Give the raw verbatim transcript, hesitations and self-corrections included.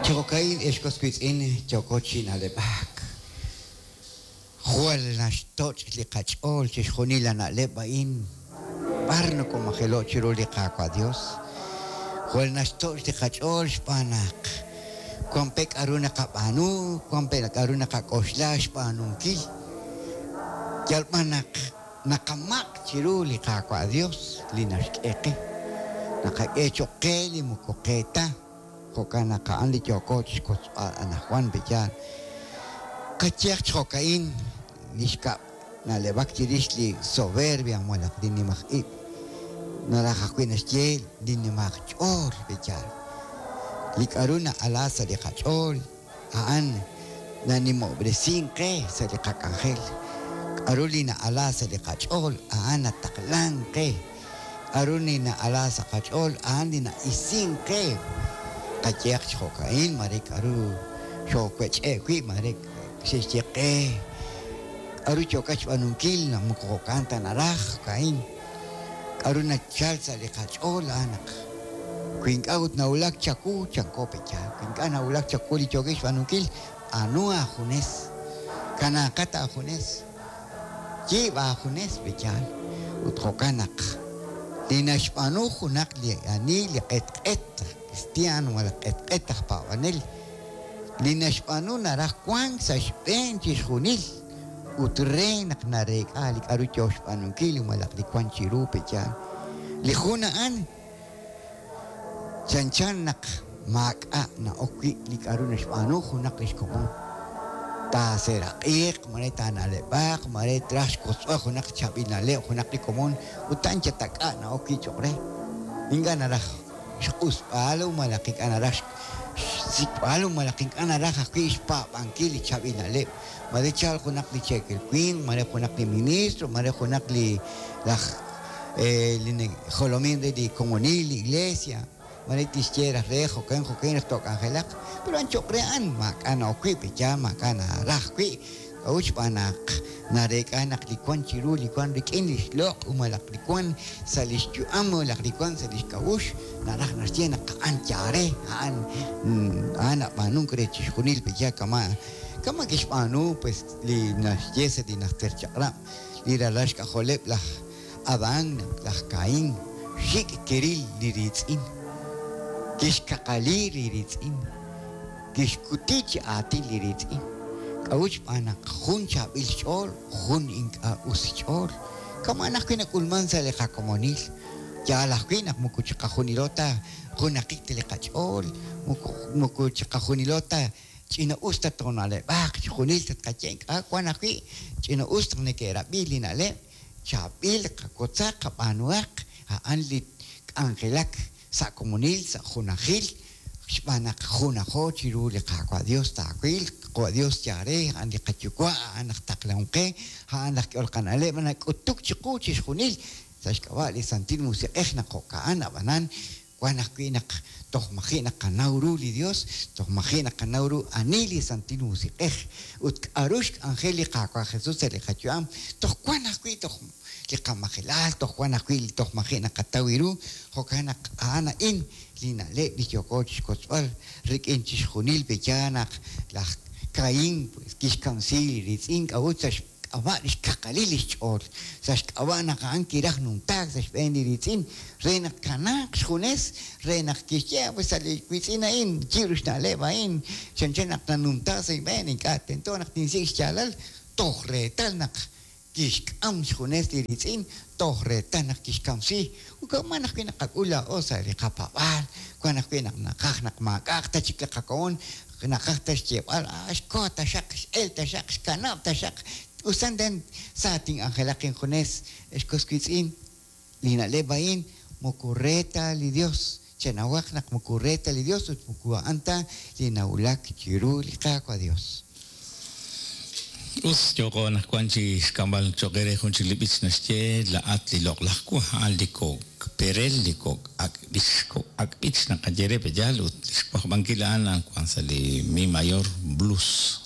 Chi jo'ka'in ex was wiitz'in yooko chi na'leb'ak. Jwal naxtoch' li qach'ool chixjunil la na'leb' a'in b'ar nokomajelo' chiru li Qaawa' Dios. Jwal naxtoch' li qach'ool xb'aan naq wan pe k'a'ru naqab'aanu, wan pe k'a'ru naqak'oxla xb'aanunkil. Yal b'an naq naqamaq' chiru li Qaawa' Dios li naxk'e qe. Naqak'e cho'q qe li moko qe ta. Jo'kan naq a'an li yooko chixkotzb'al anajwan pe'yaal. Qayehaq chi jo'ka'in li xkab' na'leb'ak chirix li soberbia malaj li nimaj ib'. Naraj ajwi' naxye li nimaj ch'ool pe'yaal. Li k'a'ru na'ala sa' li qach'ool a'an nanimob'resink qe sa' li qak'anjel. K'a'ru li na'ala sa' li qach'ool a'an nataqlank qe. K'a'ru li na'ala sa' qach'ool a'an li na'isink qe. Qayehaq chi jo'ka'in mare k'a'ru xoowech'e' wi' mare xe'xye qe. K'a'ru yookat xb'aanunkil naq moko jo'kan ta naraj jo'ka'in. K'a'ru nachal sa' li qach'ool a'an naq wi ink'a' ut nawulak chawu chanko pe'yaal. Wi ink'a' nawulak chawu li yookin xb'aanunkil anu aajunes. Kanaaqat aajunes. Yiib' aajunes pe'yaal. Ut jo'kan naq li naxb'aanu junaq li ani li q'etq'et aj cristiano malaj q'etq'et aj paab'anel li naxb'aanu naraj wank sa' xb'een chixjunil ut re naq nareek'a li k'a'ru yoo xb'aanunkil malaj li wan chiru pe'yaal. Li jun a'an chanchan naq maak'a' na'ok wi' li k'a'ru naxb'aanu junaq lix komon. Taaseraq'iiq, mare taana'leb'aq, mare traj xkotzb'al junaq chaab'il na'leb' junaq li komon ut a'an yatak'a' na'ok wi' cho'q re. Ink'a' naraj xq'usb'al malaj ink'a' naraj xsik'b'al malaj ink'a' naraj ajwi' xpaab'ankil li chaab'il na'leb'. Mare chal junaq li cheekel winq, mare junaq li ministro, mare junaq li laj li jolomin re li komonil, li iglesia. Mare tixye raj re jo'kan jo'kan raj took'anjelaq. Pero a'an cho'q re a'an maak'a' na'ok wi' pe'yaal maak'a' naraj wi'. K'a'ut xb'aan naq nareek'a naq li wan chiru li wan rik'in li xloq' malaj li wan sa' li xyu'am malaj li wan sa' li xk'a'uxl naraj naxye naq a'an yaare, a'an a'an nab'aanunk re chixjunil pe'yaal kama' kama' kixb'aanu pues li naxye sa' li najter chaq'rab' li ralal xk'ajoleb' laj Adán laj Caín xik' kiril li riitz'in. Kixkaqali li riitz'in. Kixkuti chi aatin li riitz'in. K'a'ut xb'aan naq jun chaab'il xch'ool, jun ink'a' us xch'ool. Kama' ajwi' nak'ulman sa' li qakomonil. Yaal ajwi' naq moko chiqajunilo ta junaqik ta li qach'ool, moko moko chiqajunilo ta ch'ina us ta toona'leb'aq, chixjunil tatqaye ink'a' wan ajwi' ch'ina us taq neke'rab'i li na'leb', chaab'il qakotzaq qab'aanuhaq a'an li k'anjelak sa' komonil, sa' junajil, xb'aan naq junajo chiru li Qaawa' Dios taawil, Qaawa' Dios yaare, a'an li qayuwa', a'an aj taqlahom qe, a'an laj k'ehol qana'leb' nak'utuk chiqu chixjunil sa' xk'ab'a' li Santil Musiq'ej naq jo'ka'an ab'anan wan ajwi' naq toj maji' naqanaw ru li Dios, toj maji' naqanaw ru ani li Santil Musiq'ej ut k'a'ru xk'anjel li Qaawa' Jesus sa' li qayu'am, toj wan ajwi' toj li qamajelal, toj wan ajwi' toj maji' naqataw ru, jo'kan naq a'an a'in li na'leb' li yooko chixkotzb'al rik'in chixjunil pe'yaal naq laj Caín pues kixkamsi li riitz'in k'a'ut sa' xk'ab'a' li xkaqalil li xch'ool, sa' xk'ab'a' naq a'an kiraj numtaak sa' xb'een li riitz'in re naq kanaaq xjunes, re naq kixye pues sa' li wiitz'in a'in yiib' xna'leb' a'in chanchan naq nanumtaak sa' xb'een ink'a' tento naq tinsik' xyaalal toj reetal naq kixk'am xjunes li riitz'in toj reetal naq kixkamsi. Ut wan ajwi' naqak'ul laa'o sa' li qapab'aal, wan ajwi' naq naqaj naq maak'a'aq ta chik li qakomon, naqaj ta xyeeb'al, ah, xko taxaq, x'el taxaq, xkanab' taxaq. Usan den sa tin'anjelaq injunes ex was wiitz'in li na'leb' a'in moko re ta li Dios. Chenawaq naq moko re ta li Dios ut moko a'an ta li nawulak chiru li Qaawa' Dios. Us yooko anaqwan chi xk'amb'al cho'q re jun chik li b'ich naxye la'at li loq'laj wa a'an li kok' perel li kok' ak' b'ich kok' ak' b'ich naqaye re pe'yaal ut li xwajb'ankil a'an wan sa' li mi mayor blues.